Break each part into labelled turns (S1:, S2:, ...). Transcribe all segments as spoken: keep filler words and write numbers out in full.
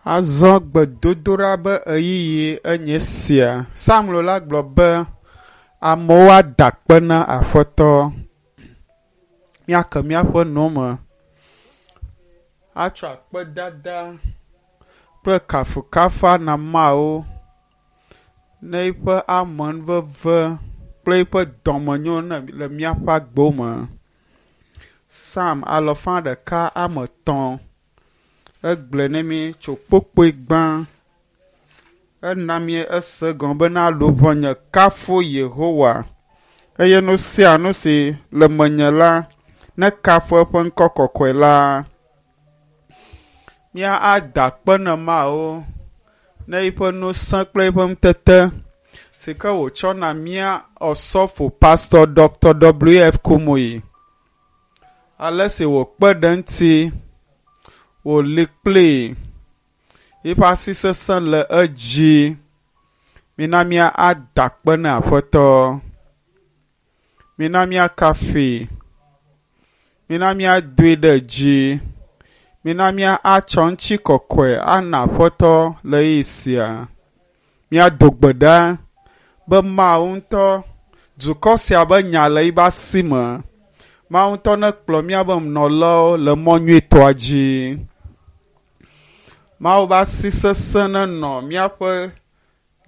S1: Azɔ gbedodoɖa be ɣeyiɣi enye sia. Samuel la gblɔ be amewo ada akpe na Aƒetɔ. Míake míaƒe nu me atsɔ akpedada kple kafukafu ana Mawu ne eƒe amenuveve kple eƒe dɔmenyo le míaƒe agbewo me. Psalm alafa ɖeka ame etɔ̃ egblɔe ne mí tso kpukpui gbã. Ena mí ese egɔme bena luʋɔnye kafu Yehowa eye nu sia nu si le menye la nekafu eƒe ŋkɔ kɔkɔe la. Mía ada akpe na Mawu ne eƒe ŋusẽ kple eƒe ŋutete si ke wòtsɔ na mía Osɔfo Pastor Doctor W F Kumuyi. Ale si wòkpe ɖe eŋuti, wòli kplii, eƒe asi sesẽ le edzi. Mina mía ada akpe na Aƒetɔ. Mina míakafui. Mina míadoe ɖe dzi. Mina mía atsɔ ŋutikɔkɔe ana Aƒetɔ le ɣeyiɣi sia. Míado gbe ɖa be Mawu ŋutɔ dukɔ sia be nya le eƒe asi me. Mawu ŋutɔ nekplɔ míabe nɔlawo le mɔ nyuitɔa dzi. Mawu be asi sesẽ nenɔ míaƒe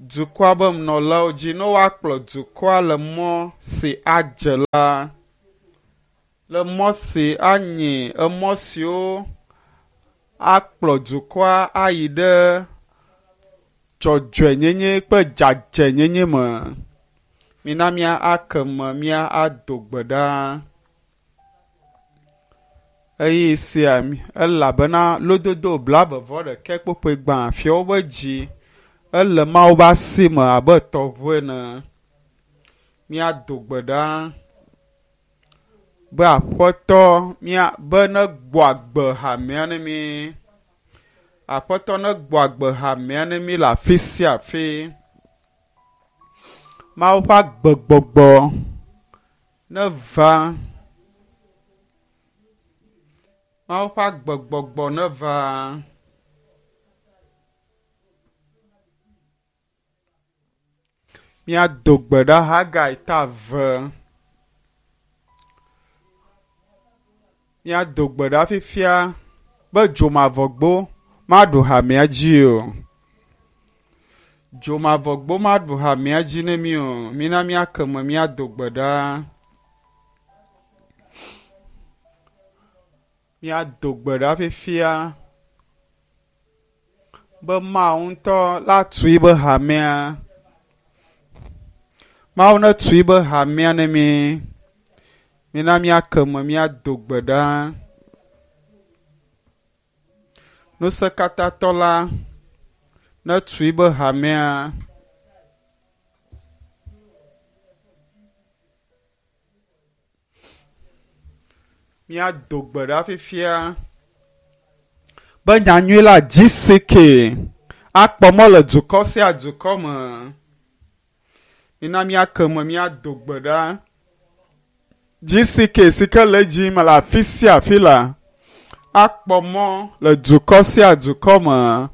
S1: dukɔa be nɔlawo dzi ne woakplɔ dukɔa le mɔ si adze la, le mɔ si anye emɔ siwo akplɔ dukɔa ayi ɖe dzɔdzɔenyenye kple dzadzɛnyenye me. Mina mía ake me mía ado gbe ɖa. Ɣeyiɣi sia elabena lododo blaeve vɔ ɖekɛ kpukpui gbã fiawo be dzi ele Mawu be asi me abe tɔʋu ene. Míado gbe ɖa be Aƒetɔ mía be negbɔ agbe hamea ne mí. Aƒetɔ negbɔ agbe hamea ne mí le afi sia afi. Mawu ƒe agbegbɔgbɔ neva. Mawu ƒe agbegbɔgbɔ neva. Míado gbe ɖa Hagai ta eve. Míado gbe ɖa fifia be dzomavɔgbo maɖu hamea dzi o. Dzomavɔgbo maɖu hamea dzi ne mí o. Mina míake me míado gbe ɖa. Míado gbe ɖa fifia be Mawu ŋutɔ la tu eƒe hamea. Mawu netu eƒe hamea ne mí. Mina míake me míado gbe ɖa. Ŋusẽkatãtɔ la netu eƒe hamea. Míado gbe ɖa fifia be nyanyui la G C K akpɔ mɔ le dukɔ sia dukɔ me. Mina míake me míado gbe ɖa. G C K si ke le edzi me le afi sia afi la akpɔ mɔ le dukɔ sia dukɔ me.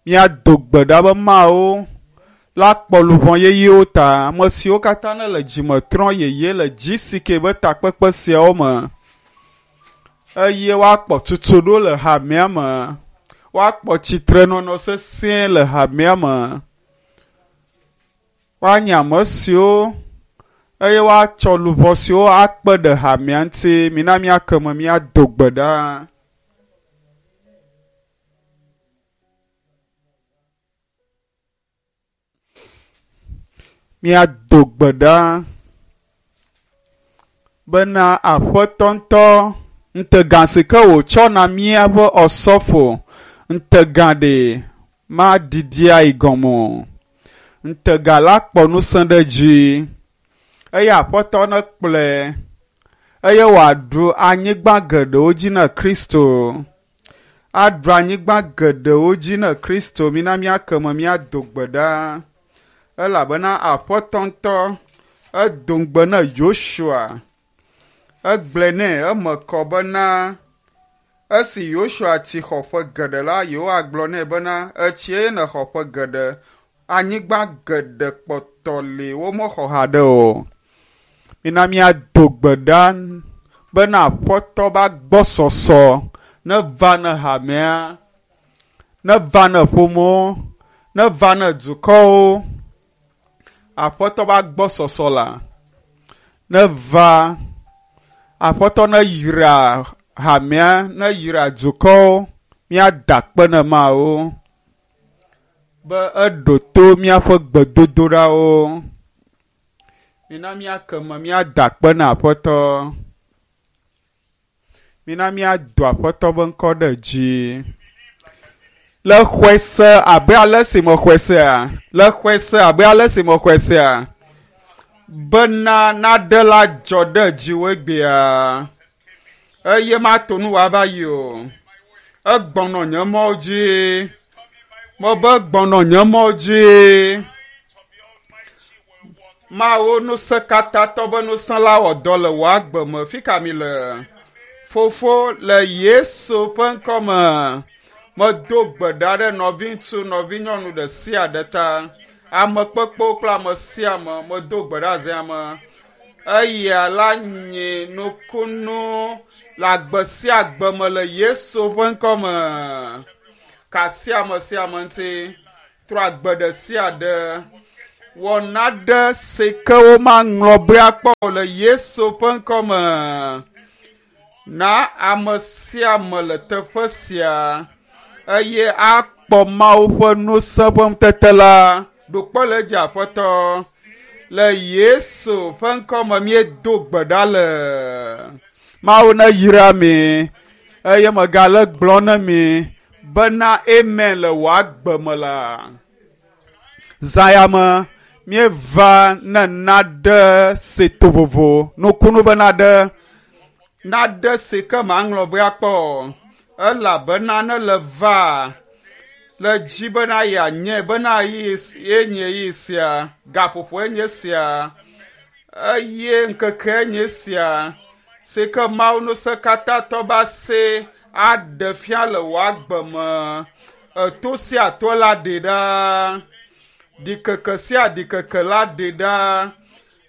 S1: Míado gbe ɖa be Mawu la kpɔ luʋɔ yeyewo ta. Ame siwo katã ne le dzime trɔm yeye le G C K be takpekpe siawo me eye woakpɔ tutuɖo le hamea me, woakpɔ tsitrenɔnɔ sesĩe le hamea me, woanye ame siwo eye woatsɔ luʋɔ siwo akpe ɖe hamea ŋuti. Mina míake me míado gbe ɖa. Míado gbe ɖa bena Aƒetɔ ŋutɔ ŋutegã si ke wòtsɔ na míaƒe Osɔfo ŋutegã ɖe maɖiɖi ayi gɔme o. Ŋutegã la kpɔ ŋusẽ ɖe edzi eye Aƒetɔ nekplɔe eye wòaɖu anyigba geɖewo dzi na Kristo. Aɖu anyigba geɖewo dzi na Kristo. Mina míake me míado gbe ɖa. Elabena Aƒetɔ ŋutɔ edo ŋugbe na Yosua. Egblɔe nɛ eme kɔ bena Esi Yosua tsi xɔ ƒe geɖe la, Yehowa gblɔ nɛ bena, etsie nexɔ ƒe geɖe, anyigba geɖe kpɔtɔ li womexɔ haɖe o. Mina míado gbe ɖa bena Aƒetɔ be agbɔsɔsɔ neva ne hamea, neva ne ƒomewo, neva ne dukɔwo. Aƒetɔ be agbɔsɔsɔ la neva. Aƒetɔ neyra hamea, neyra dukɔwo, míada akpe ne Mawu be eɖo to míaƒe gbedodoɖawo. Mina míake me míada akpe na Aƒetɔ. Mina míado Aƒetɔ be ŋkɔ ɖe dzi. Le xɔe se abe ale si mexɔe sea, le xɔe se abe ale si mexɔe sea, bena naɖe la dzɔ ɖe dziwò egbea. Eye mato nu wòava yi o. Egbɔnɔ nye mɔwo dzi. Mebe gbɔnɔ nye mɔwo dzi. Mawu ŋusẽkatãtɔ be ŋusẽ la wɔ dɔ le wò agbe me. Fi ka mi le? Fofo le Yesu ƒe ŋkɔme. Medo gbe ɖa ɖe nɔviŋutsu, nɔvinyɔnu ɖe sia ɖe ta. Ame kpekpewo kple ame sia ame medo gbe ɖa zia me. Eya la nye nukunu le agbe sia agbe me le Yesu ƒe ŋkɔme. Ka sia ame sia ame ŋuti. Trɔ agbe ɖe sia ɖe. Wɔ naɖe si ke womaŋlɔ be akpɔ o le Yesu ƒe ŋkɔme. Na ame sia ame le teƒe sia eye akpɔ Mawu ƒe ŋusẽ ƒe ŋutete la. Ɖo kpe le edzi Aƒetɔ. Le Yesu ƒe ŋkɔme míedo gbe ɖa le. Mawu neyra mi eye megale gblɔ ne mi bena amen le wò agbe me la. Zã ya me míeva ne naɖe si to vovo nukunu be naɖe naɖe si ke maŋlɔ be akpɔ o. Elabena ne le va le dzi bena yeanye bena ye nye yi sia gaƒoƒo enye sia eye ŋkeke enye sia si ke Mawu ŋusẽkatãtɔ be ase aɖe fia le wò agbe me. Eto sia to la ɖe ɖa. Ɖikeke sia ɖikeke la ɖe ɖa.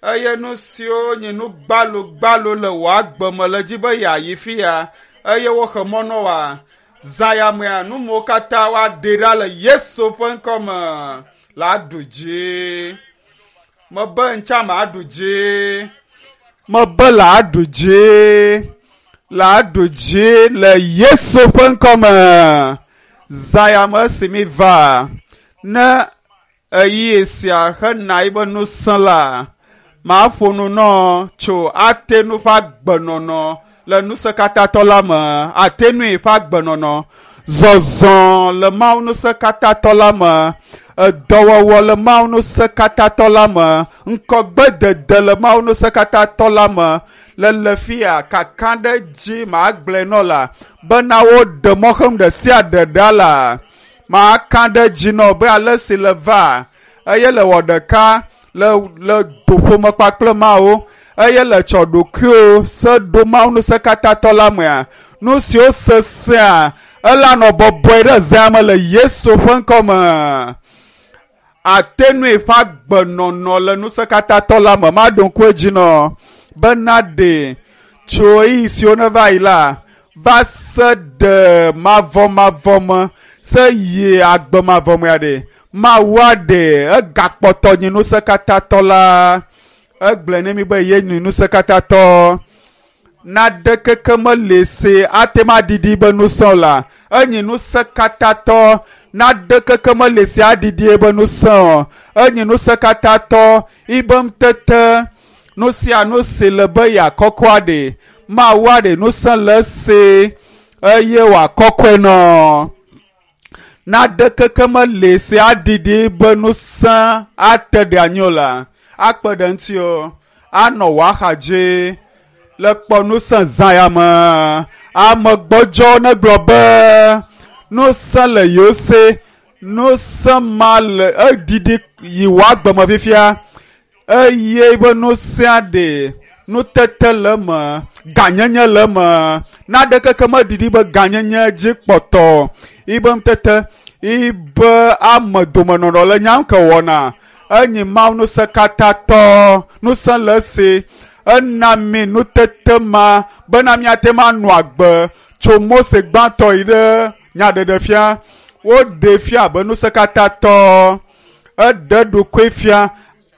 S1: Eye nu siwo nye nu gbalogbalo le wò agbe me le dzi be yeayi fia eye woxe mɔ na woa. Zã ya mea nu mawo katã woaɖe ɖa le Yesu ƒe ŋkɔme la aɖu dzi. Mebe ŋtsa maɖu dzi. Mebe la aɖu dzi. La aɖu dzi le Yesu ƒe ŋkɔme. Zã ya me esi mi va ne ɣeyiɣi sia hena yibe ŋusẽ la, maƒo nu nɔ tso Atenu ƒe agbenɔnɔ le ŋusẽkatãtɔ la me. Atenui ƒe agbenɔnɔ, zɔzɔ le Mawu ŋusẽkatãtɔ la me, edɔwɔwɔ le Mawu ŋusẽkatãtɔ la me, ŋkɔgbedede le Mawu ŋusẽkatãtɔ la me. Le le fia kaka ɖe dzi magblɔe nɔ la bena woɖe mɔxenu ɖe sia ɖe ɖa la. Maka ɖe dzi nɔ be ale si le va eye le wɔ ɖeka le le doƒome kpakple Mawu eye le tsɔ ɖokuiwo se ɖo Mawu ŋusẽkatãtɔ la mea. Nu siwo sesẽa ela nɔ bɔbɔe ɖe zea me le Yesu ƒe ŋkɔme. Atenui ƒe agbenɔnɔ le ŋusẽkatãtɔ la me maɖo ŋku edzi nɔ bena ɖe tso ɣeyiɣi siwo neva yi la va se ɖe mavɔmavɔ me se yi agbe mavɔ mea ɖe Mawu aɖe egakpɔtɔ nye ŋusẽkatãtɔ la. Egblɔe ne mi be ye nye ŋusẽkatãtɔ. Naɖe keke meli si ate ŋu aɖiɖi be ŋusẽ o la. Enye ŋusẽkatãtɔ. Naɖe keke meli si aɖiɖi be ŋusẽ o. Enye ŋusẽkatãtɔ. Ibe ŋutete nu sia nu si le be yeakɔkɔ aɖe. Mawu aɖe ŋusẽ le esi eye wòakɔkɔe nɔ. Naɖe keke meli si aɖiɖi be ŋusẽ ate ɖe anyi o la. Akpe ɖe ŋuti o. Anɔ wò axa dzi. Le kpɔ ŋusẽ zã ya me. Ame gbɔdzɔ negblɔ be ŋusẽ le yewo si. Ŋusẽ ma le eɖiɖi yi wò agbe me fifia. Eye be ŋusẽa ɖe Nutete le eme, gãnyenye le eme. Naɖeke ke meɖiɖi be gãnyenye dzi kpɔtɔ. Yibe nutete, yibe ame domenɔnɔ le nyam ke wɔna. Enyi Mawu ŋusẽkatãtɔ, ŋusẽ le esi. Ena mi nutete ma bena míate ŋu anɔ agbe tso Mose gbãtɔ yi ɖe nyaɖeɖefia. Woɖee fia abe ŋusẽkatãtɔ. Eɖe ɖokui fia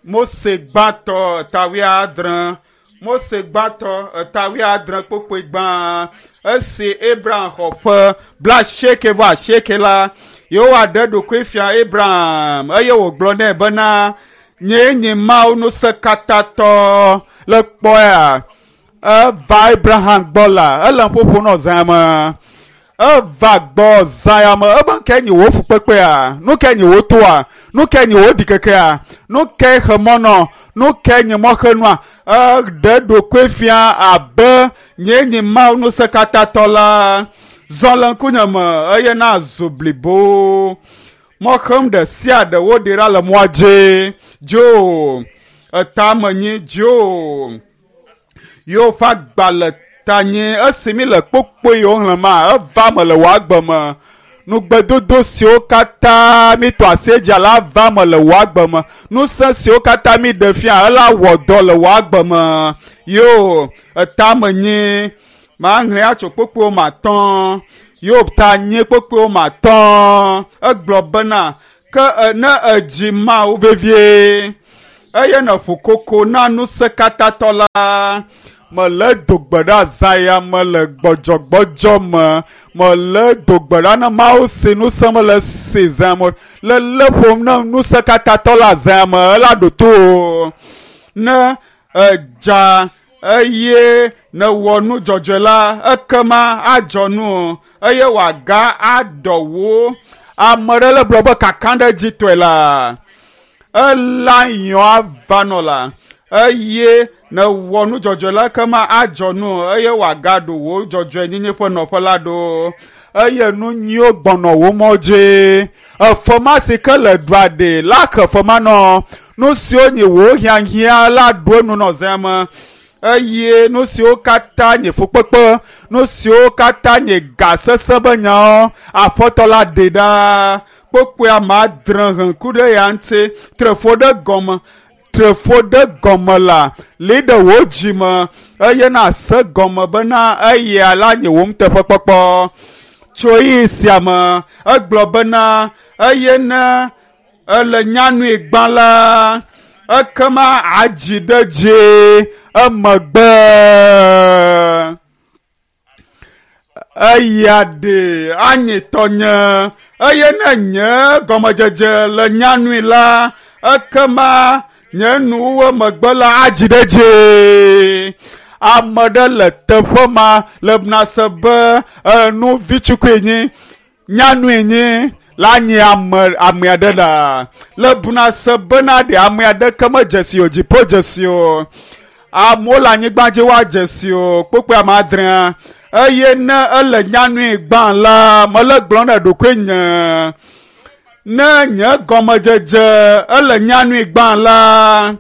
S1: Mose gbãtɔ eta wuiadre. Mose gbãtɔ eta wuiadre kpokpoe gbã. Esi Abraham xɔ ƒe blaasieke vɔ asieke la, Yehowa ɖe ɖokui fia Abraham eye wògblɔ nɛ bena, nyee nye Mawu ŋusẽkatãtɔ. Le kpɔea, eva Abraham gbɔ la, ele ƒoƒo nɔ zã me. Eva gbɔ zã ya me, ebe nu kae nye wò fukpekpea? Nu kae nye wò toa? Nu kae nye wò ɖikekea? Nu kae xe mɔ nɔ? Nu kae nye mɔxenua? Eɖe ɖokui fia abe nyee nye Mawu ŋusẽkatãtɔ la. Zɔ le ŋkunye me eye nazu blibo. Mɔxem ɖe sia ɖe woɖe ɖa le mɔa dzi. Dzo etame nyi dzo. Yewo ƒe agba le tanye esi mi le kpokpoe yiwo xlẽma eva me le wò agbe me. Nugbedodo siwo katã mi tɔ asi edzi la va me le wò agbe me. Ŋusẽ siwo katã mi ɖe fia ela wɔ dɔ le wò agbe me. Yo etame nyi mahlẽ atso kpokpoewo me atɔ̃. Yo ta nyi kpokpoewo me atɔ̃. Egblɔ bena ke ne edzi Mawu vevie eye nèƒo koko na ŋusẽkatãtɔ la. Mele do gbe ɖa zã ya me le gbɔdzɔgbɔdzɔ me. Mele do gbe ɖa na Mawu si ŋusẽ mele si zã me. Le lé ƒom na ŋusẽkatãtɔ la zã me ela ɖo to o. Ne edza eye nèwɔ nu dzɔdzɔe la, ekema adzɔ nu eye wòaga aɖɔ wò. Ame ɖe le gblɔ be kakaɖedzitɔe la, ela yɔ ava nɔ la eye nèwɔ nu dzɔdzɔe la ekema adzɔ nu eye wòagaɖo wò dzɔdzɔenyenye ƒe nɔƒe la ɖo. Eye nu nyuiwo gbɔnɔ wò mɔ dzi. Efe ma si ke le ɖua ɖe la xe fe ma nɔ. Nu siwo nye wò hiahiã la ɖo enu nɔ zã me. Eye nu siwo katã nye fukpekpe, nu siwo katã nye ga sesẽ be nyawo, Aƒetɔ la ɖe ɖa. Kpokpoe ame adre he ŋku ɖe ya ŋuti, tre fo ɖe gɔme. Tre fo ɖe gɔme la, li ɖe wò dzi me eye nase gɔme bena eya la nye wò nuteƒekpɔkpɔ. Tso ɣeyiɣi sia me, egblɔ bena eye ne ele nyanui gbã la, ekema adzi ɖe dzi emegbe. Eya ɖe anyi tɔnye eye ne nye gɔmedzedze le nyanui la, ekema nye nuwo megbe la adzi ɖe dzi. Ame ɖe le teƒe ma le nase be enu vitsukui nyi, nyanui nyi la nyi ame ame aɖe la. Le buna se bena ɖe ame aɖeke medze si o, dziƒo dze si o. Amewo le anyigba dzi woadze si o, kpokpoe ame adrea. Eye ne ele nyanui gbã la, mele gblɔm ɖe ɖokuinye. Ne nye gɔmedzedze ele nyanui gbã la,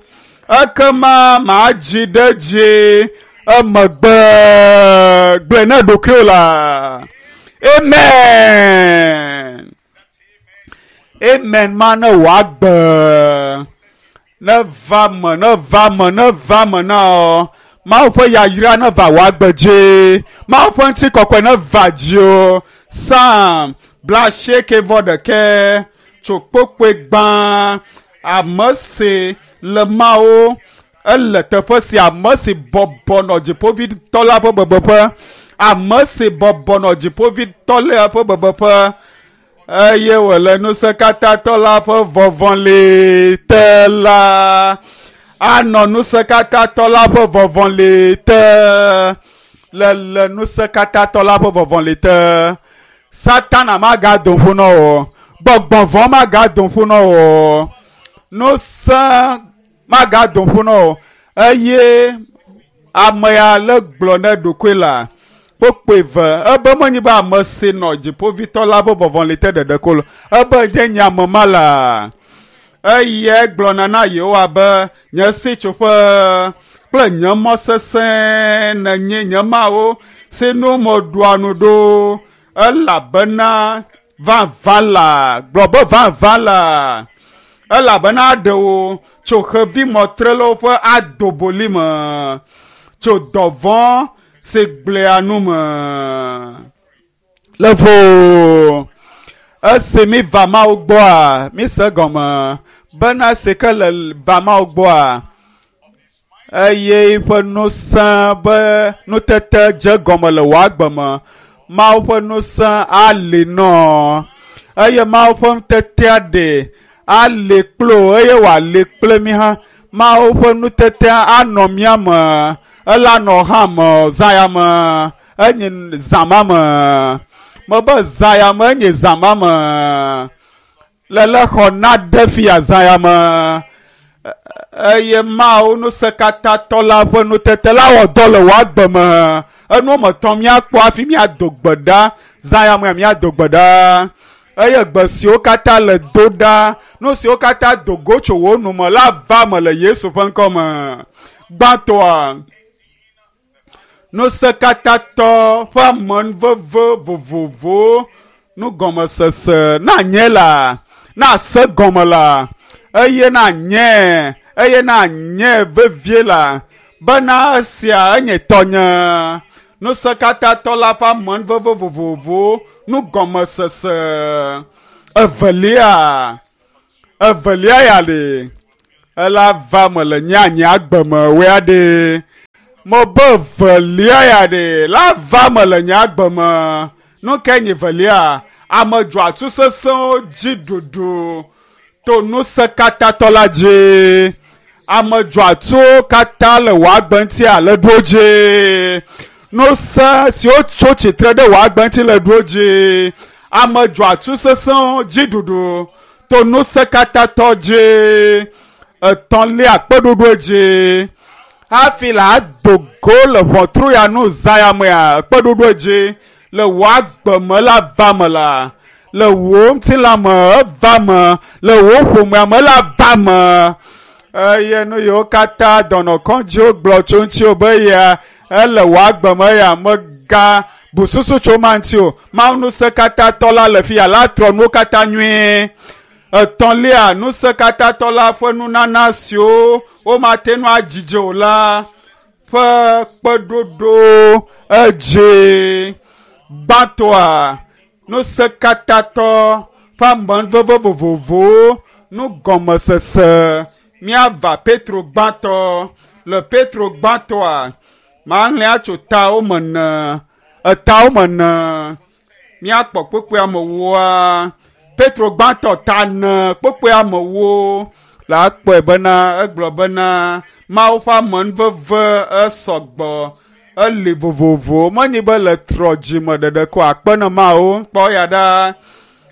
S1: ekema madzi ɖe dzi emegbe. Gblɔe ne ɖokuiwò la. Amen. Amen ma ne wòagbe. Ne va me, ne va me, ne va me na wò. Mawu ƒe yayra ne va wò agbe dzi. Mawu ƒe ŋutikɔkɔe ne va dziwò. Psalm blaasieke vɔ ɖekɛ tso kpokpoe gbã. Ame si le Mawu ele teƒe sia, ame si bɔbɔ nɔ dziƒoʋĩtɔ la ƒe bebeƒe. Ame si bɔbɔ nɔ dziƒoʋĩtɔ la ƒe bebeƒe eye wòle ŋusẽkatãtɔ la ƒe vɔvɔli te la, anɔ ŋusẽkatãtɔ la ƒe vɔvɔli te. Le le ŋusẽkatãtɔ la ƒe vɔvɔli te. Satana magado ƒu na wò. Gbɔgbɔ vɔ̃ magado ƒu na wò. Ŋusẽ magado ƒu na wò. Eye ame ya le gblɔ ne ɖokui la, kpokpoe ve ebe menyi be ame si nɔ dziƒoʋĩtɔ la ƒe vɔvɔli te ɖeɖe ko lo. Ebe nye nye ame ma la. Eye gblɔna na Yehowa be nye sitsoƒe kple nye mɔ sesẽ nenye nye Mawu si nu meɖua nu ɖo elabena vavã la gblɔ be vavã la elabena aɖe wò tso xevimɔtrelawo ƒe adoboli me tso dɔvɔ̃ si gblẽa nu me le vo esi mi va Mawu gbɔa mi se gɔme bena si ke le va Mawu gbɔa eye eƒe ŋusẽ be nutete dze gɔme le wò agbe me Mawu ƒe ŋusẽ ali nɔ eye Mawu ƒe nutetea ɖe ali kple wò eye wòali kple mi hã Mawu ƒe nutetea anɔ mía me ela nɔ hã me zã ya me enye zã ma me mebe zã ya me enye zã ma me lele xɔ na ɖe fia zã ya me eye Mawu ŋusẽkatãtɔ la ƒe nutete la wɔ dɔ le wò agbe me enu me tɔn míakpɔ hafi míado gbe ɖa zã ya me míado gbe ɖa eye gbe siwo katã le do ɖa nu siwo katã do go tso wò nu me la va me le Yesu ƒe ŋkɔ me gbãtɔa ŋusẽkatãtɔ ƒe amenuveve vovovowo nugɔmesese na nye la na se gɔme la eye na nye eye na nye vevie la bena esia enye tɔnye ŋusẽkatãtɔ la ƒe amenuveve vovovowo nugɔmesese evelia evelia ya le ela va me le nye nye agbe me woa ɖe mebe evelia ya ɖe la va me le nye agbe me nu ke nye evelia ame dzɔatsu sesẽwo dzi ɖuɖu to ŋusẽkatãtɔ la dzi ame dzɔatsuwo katã le wò agbe ŋuti le ɖo dzi ŋusẽ siwo tso tsitre ɖe wò agbe ŋuti le ɖo dzi ame dzɔatsu sesẽwo dzi ɖuɖu to ŋusẽkatãtɔ dzi etɔ̃lia kpeɖoɖo dzi hafi la ado go le ʋɔtru ya nu zã ya mea kpeɖoɖo dzi le wò agbe me la va me la le wò ŋutilã me eva me le wò ƒomea me la va me eye nu yiwo katã dɔnɔkɔdziwo gblɔ tso ŋutiwò be ya ele wò agbe me ya mega bu susu tso ma ŋuti o Mawu ŋusẽkatãtɔ la le fi ya la trɔ nuwo katã nyuie etɔ̃lia ŋusẽkatãtɔ la ƒe nunana siwo womate ŋu adzidze o la ƒe kpeɖoɖo edzi gbãtɔa ŋusẽkatãtɔ ƒe amenuveve vovovowo nugɔmesese míava Petro gbãtɔ le Petro gbãtɔa maxlẽ atso tawo me ne etawo me ne míakpɔ kpukpui amewoa Petro gbãtɔ ta ne kpukpui amewo la akpɔe bena egblɔ bena Mawu ƒe amenuveve esɔgbɔ eli vovovo menye be le trɔ dzime ɖeɖe ko akpe ne Mawu kpɔ ya ɖa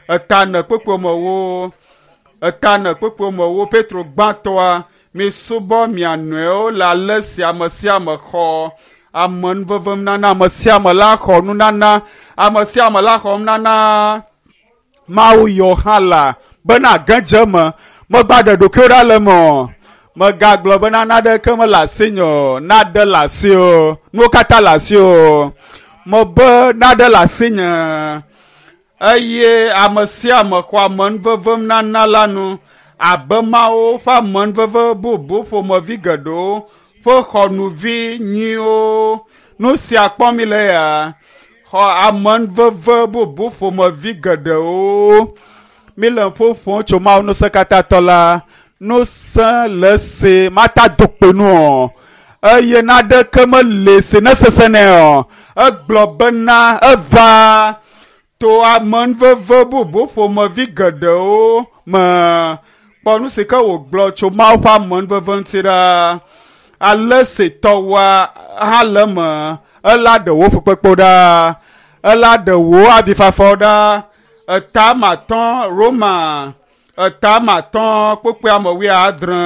S1: eta ne kpukpui amewo eta ne kpukpui amewo Petro gbãtɔa misubɔ mia nɔewo le ale si ame sia ame xɔ amenuveve nunana ame sia ame la xɔ nunana ame sia ame la xɔ nunana Mawu yɔ hã la bena ge dze me megba ɖe ɖokuiwo ɖa le me o megagblɔ bena naɖeke mele asinye o naɖe le asi o nuwo katã le asi o mebe naɖe le asinye eye ame sia ame xɔ amenuveve nunana la nu abe Mawu ƒe amenuveve bubu ƒomevi geɖewo ƒe xɔnuvi nyuiwo nu sia kpɔm mi le ya xɔ amenuveve bubu ƒomevi geɖewo mi le ƒoƒom tso Mawu ŋusẽkatãtɔ la ŋusẽ le si mata do kpe nu o eye naɖeke mele si ne sesẽ nɛ o egblɔ bena eva to amenuveve bubu ƒomevi geɖewo me kpɔ nu si ke wògblɔ tso Mawu ƒe amenuveve ŋuti ɖa ale si tɔwoa hã le eme ela ɖe wò fukpekpewo ɖa ela ɖe wò avifafawo ɖa eta matɔ Roma eta matɔ kpukpui ame wuiadre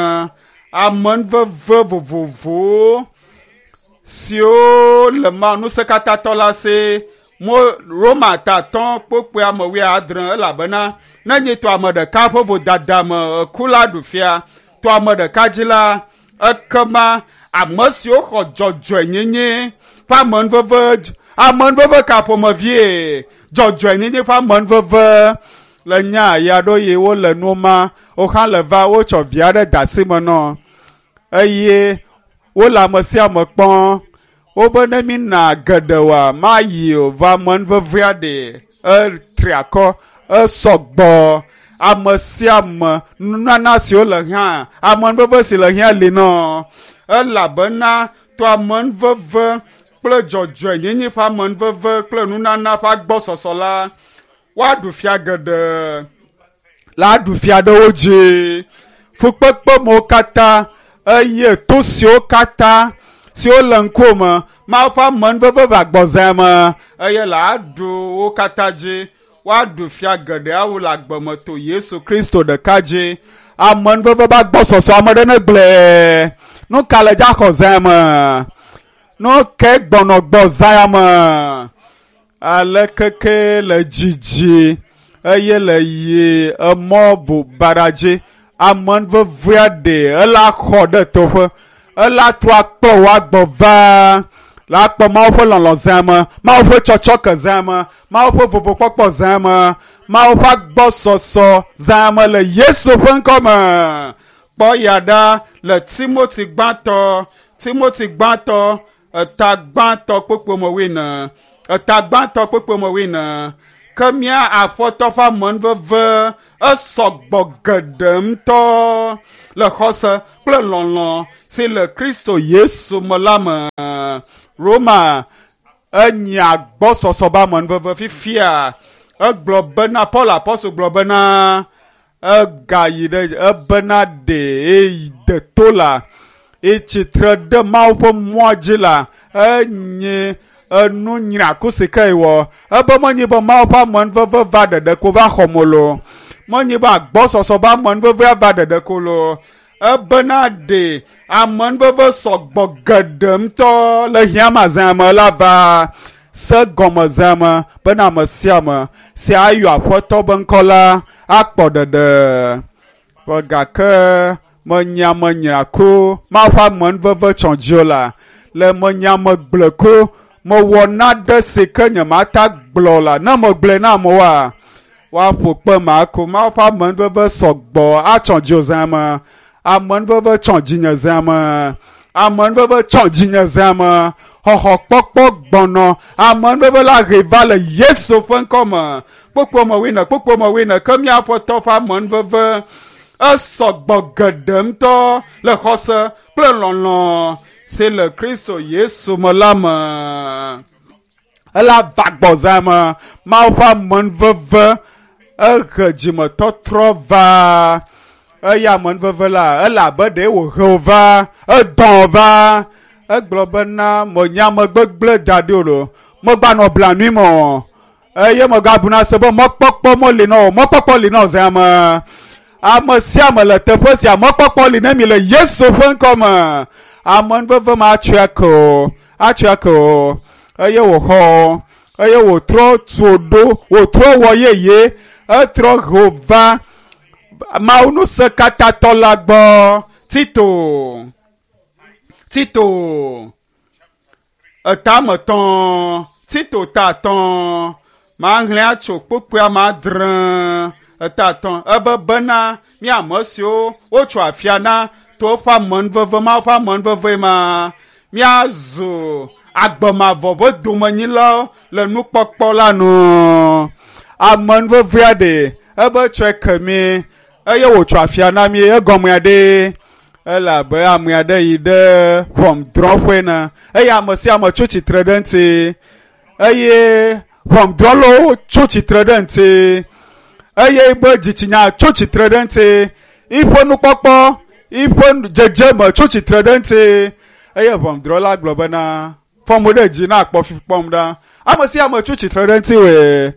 S1: amenuveve vovovowo siwo le Mawu ŋusẽkatãtɔ la si mo Roma tatɔ kpukpui ame wuiadre elabena ne nyi to ame ɖeka ƒe vodada me eku la ɖu fia to ame ɖeka dzi la ekema Ame siwo xɔ dzɔdzɔenyenye ƒe amenuveve, amenuveve ka ƒomevie? Dzɔdzɔenyenye ƒe amenuveve le nya ya ɖo ye wole nu ma, wohã le va wotsɔ vi aɖe de asi me nɔ eye wole ame sia ame kpɔm. Wobe ne mi na geɖe wa mayi o va amenuvevea ɖe etri akɔ esɔgbɔ. Ame sia ame nunana siwo le hiã, amenuveve si le hiã li nɔ elabena to amenuveve kple dzɔdzɔenyenye ƒe amenuveve kple nunana ƒe agbɔsɔsɔ la woaɖu fia geɖe la aɖu fia ɖe wo dzi. Fukpekpe mewo katã eye to siwo katã siwo le ŋkume Mawu ƒe amenuveve va gbɔzea me eye la aɖu wo katã dzi. Woaɖu fia geɖe awu le agbe me to Yesu Kristo ɖeka dzi. Amenuveve ƒe agbɔsɔsɔ ame ɖe ne gblɔe. Nu ka le dza xɔ zea me? Nu ke gbɔnɔ gbɔ zea me? Ale keke le dzidzi eye le yi emɔ bu baɖa dzi. Amenuvevea ɖe ela xɔ ɖe teƒe. Ela trɔ akplɔ wò agbɔ va. La kpɔ Mawu ƒe lɔlɔ̃ zea me, Mawu ƒe tsɔtsɔke zea me, Mawu ƒe vovokpɔkpɔ zea me, Mawu ƒe agbɔsɔsɔ zea me le Yesu ƒe ŋkɔ me. Kpɔ ya ɖa le Timoti gbãtɔ, Timoti gbãtɔ, eta gbãtɔ kpokpo me wuiene, eta gbãtɔ kpokpo me wuiene. Ke mía Aƒetɔ ƒe amenuveve esɔgbɔ geɖe ŋutɔ le xɔse kple lɔlɔ̃ si le Kristo Yesu me la me. Roma enyi agbɔsɔsɔ be amenuveve fifia. Egblɔ bena Paul apɔstol gblɔ bena egayi ɖe ebena ɖe eyi de to la etsitre ɖe Mawu ƒe mɔa dzi la enye enu nyraku si ke wɔ. Ebe menye be Mawu ƒe amenuveve va ɖeɖe ko va xɔ mo lo. Menye be agbɔsɔsɔ be amenuvevea va ɖeɖe ko lo. Ebena ɖe amenuveve sɔgbɔ geɖe ŋutɔ le hiãmazã me la va se gɔmezã me bena ame sia ame si ayɔ Aƒetɔ be ŋkɔ la akpɔ ɖeɖe. Vɔ gake menya menyra ko Mawu ƒe amenuveve tsɔ dzi o la le menya megblẽ ko mewɔ naɖe si ke nyemata gblɔ la ne megblɔe na amewoa woaƒo kpe ma ko. Mawu ƒe amenuveve sɔgbɔ atsɔ dzi o zã me. Amenuveve tsɔ dzinye zã me. Amenuveve tsɔ dzinye zã me. Xɔxɔ kpɔkpɔ gbɔnɔ. Amenuveve la he va le Yesu ƒe ŋkɔ me. Kpokpo me wuiene, kpokpo me wuiene ke mía Aƒetɔ ƒe amenuveve esɔgbɔ geɖe ŋutɔ le xɔse kple lɔlɔ̃ si le Kristo Yesu me la me. Ela va gbɔzã me. Mawu ƒe amenuveve ehe dzimetɔtrɔ va. Eya amenuveve la ele abe ɖe wòhe wò va, edɔ̃ va. Egblɔ bena menye ame gbegblẽ da ɖi o lo. Megbanɔ blanui me o. Eye megabuna se be mɔkpɔkpɔ meli na o. Mɔkpɔkpɔ li na o zã me. Ame sia ame le teƒe sia mɔkpɔkpɔ li ne mi le Yesu ƒe ŋkɔ me. Amenuveve ma atsɔe ake o. Atsɔe ake o. Eye wòxɔ o. Eye wòtrɔ tu ɖo, wòtrɔ wɔ yeye. Etrɔ he va Mawu ŋusẽkatãtɔ la gbɔ. Tito, Tito, eta ame etɔ̃, Tito ta atɔ̃. Mahlẽ atso kpokpoea me adre eta atɔ̃. Ebe bena mí ame siwo wotso afia na to eƒe amenuveve, Mawu ƒe amenuveve ma, míazu agbemavɔ ƒe domenyilawo le nukpɔkpɔ la nu. Amenuvevea ɖe ebe tsɔe ke mí eye wòtso afia na mí egɔmea ɖe elabe ame aɖe yi ɖe ʋɔnudrɔ̃ƒe ne eye ame sia ame tso tsitre ɖe ŋuti eye ʋɔnudrɔ̃lawo tso tsitre ɖe ŋuti eye be dzitsinya tso tsitre ɖe ŋuti eƒe nukpɔkpɔ eƒe dzedzeme tso tsitre ɖe ŋuti eye ʋɔnudrɔ̃la gblɔ bena fɔ mo ɖe dzi na akpɔ fi kpɔm ɖa ame sia ame tso tsitre ɖe ŋuti wòe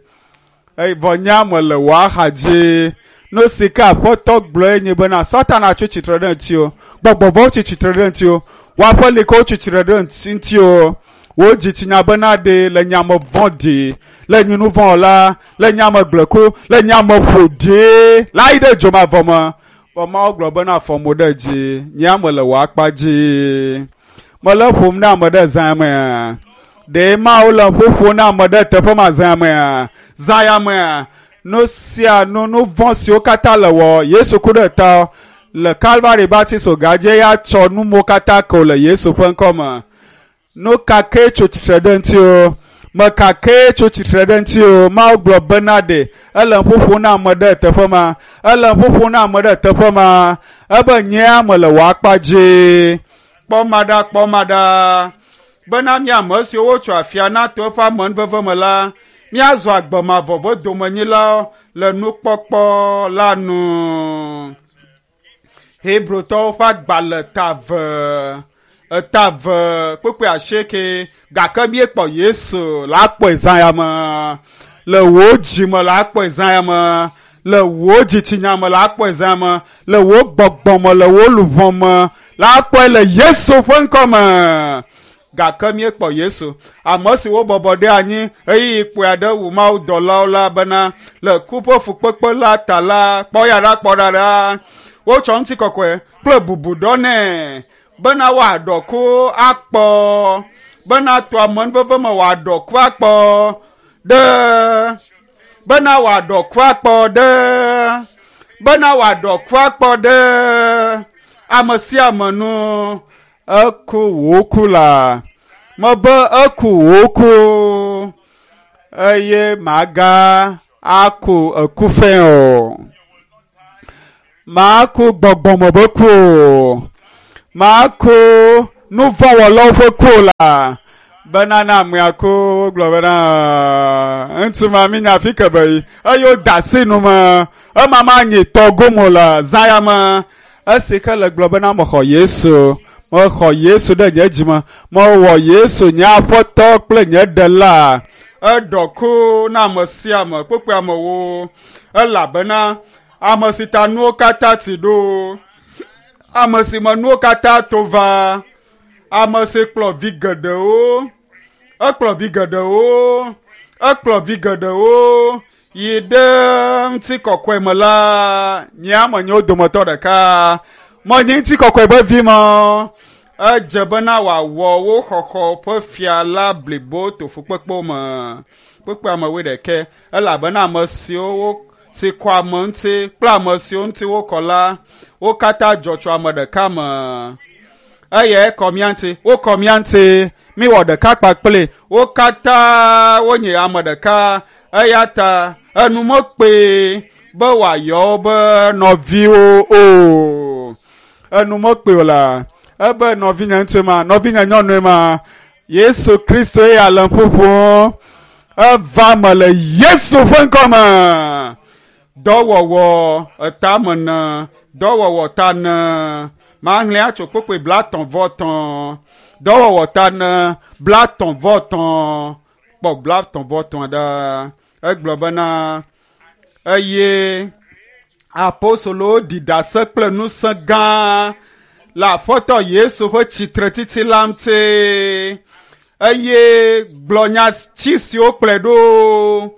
S1: eye vɔ nya me le wò axa dzi. Nu si ke Aƒetɔ gblɔe nye bena Satana tso tsitre ɖe ŋuti o, gbɔgbɔvɔwo tsi tsitre ɖe ŋuti o, wò aƒelikawo tsi tsitre ɖe ŋuti o, wò dzitsinya bena ɖe le nyame vɔ̃ɖi, le nyinuvɔ̃wɔla, le nyame gblẽku, le nyame ƒoɖi la yi ɖe dzomavɔ me. Vɔ Mawu gblɔ bena fɔ mo ɖe dzi, nye ame le wò akpa dzi. Mele ƒom na ame ɖe zã mea? Ɖe Mawu le ƒoƒo na ame ɖe teƒe ma zã mea? Zã ya mea? Nu sia nu nu vɔ̃ siwo katã le wɔ Yesu ku ɖe ta le Kalvari Baptist gadze ya tsɔ numo katã ke le Yesu ƒe ŋkɔ me. Nu ka ke tso tsitre ɖe ŋuti o? Me ka ke tso tsitre ɖe ŋuti o? Mawu gblɔ bena ɖe ele ƒoƒo na ame ɖe teƒe ma. Ele ƒoƒo na ame ɖe teƒe ma. Ebe nyea me le wò akpa dzi. Kpɔ ma ɖa, kpɔ ma ɖa. Bena mí ame siwo wotso afia na to eƒe amenuveve me la, míazɔ agbe mavɔ ƒe domenyilawo le nukpɔkpɔ la nu. Hebrotɔwo ƒe agbalẽ ta eve, eta eve kpukpui asieke gake míekpɔ Yesu la kpɔe zã ya me. Le wò dzime la kpɔe zã ya me. Le wò dzitsinya me la kpɔe zã ya me. Le wò gbɔgbɔ me, le wò luʋɔ me la kpɔe le Yesu ƒe ŋkɔ me. Gake míekpɔ Yesu, ame si wobɔbɔ ɖe anyi ɣeyiɣi kpui aɖe wu mawudɔlawo la bena le ku ƒe fukpekpe la ta la, kpɔ ya ɖa, kpɔ ɖa ɖa. Wotsɔ ŋutikɔkɔe kple bubu ɖɔ nɛ bena wòaɖɔ ku akpɔ, bena to amenuveve me wòaɖɔ ku akpɔ ɖe, bena wòaɖɔ ku akpɔ ɖe, bena wòaɖɔ ku akpɔ ɖe ame sia ame nu. Eku wò ku la, mebe eku wò ku eye maga aku eku fɛ o. Maku gbɔgbɔme be ku o. Maku nuvɔ̃wɔlawo ƒe ku o la. Bena na amea ku wogblɔ bena ŋutsu ma mi nya afi ke be yi eye woda asi nu me ema ma nyi tɔ gome o le zã ya me. Esi ke le gblɔ bena mexɔ Yesu. Mexɔ Yesu ɖe nye dzime. Mewɔ Yesu nye aƒetɔ kple nye ɖela. Eɖɔ ku na ame sia ame kpukpui amewo elabena ame si ta nuwo katã ti ɖo, ame si me nuwo katã to va, ame si kplɔ vi geɖewo, ekplɔ vi geɖewo, ekplɔ vi geɖewo yi ɖe ŋutikɔkɔe me la, nye ame nye wo dometɔ ɖeka. Menye ŋutikɔkɔe be vi me. Edze bena wòawɔ wo xɔxɔ ƒe fia la blibo to fukpekpewo me. Kpukpui amewoe ɖeke elabena ame siwo si kɔ ame ŋuti kple ame siwo ŋuti wokɔ la, wo katã dzɔ tso ame ɖeka me. Eye kɔ mía ŋuti, wokɔ mía ŋuti, míwɔ ɖeka kpakple wo katã wonye ame ɖeka. Eya ta enu mekpee be wòayɔ wo be nɔviwo o. Enu mekpee o la, ebe nɔvinye ŋutsu ma, nɔvinye nyɔnue ma, Yesu Kristo eya le ƒoƒom. Eva me le Yesu ƒe ŋkɔ me. Dɔwɔwɔ etame ne, dɔwɔwɔ ta ne. Mahlẽ atso kpukpui blatɔ̃ vɔ tɔ̃. Dɔwɔwɔ ta ne, blatɔ̃ vɔ tɔ̃. Kpɔ blatɔ̃ vɔ tɔ̃ ɖa. Egblɔ bena eye apostolowo ɖi ɖase kple ŋusẽ gã le Aƒetɔ Yesu ƒe tsitretsitsi la ŋuti eye gblɔ nya tsi siwo kplɔe ɖo.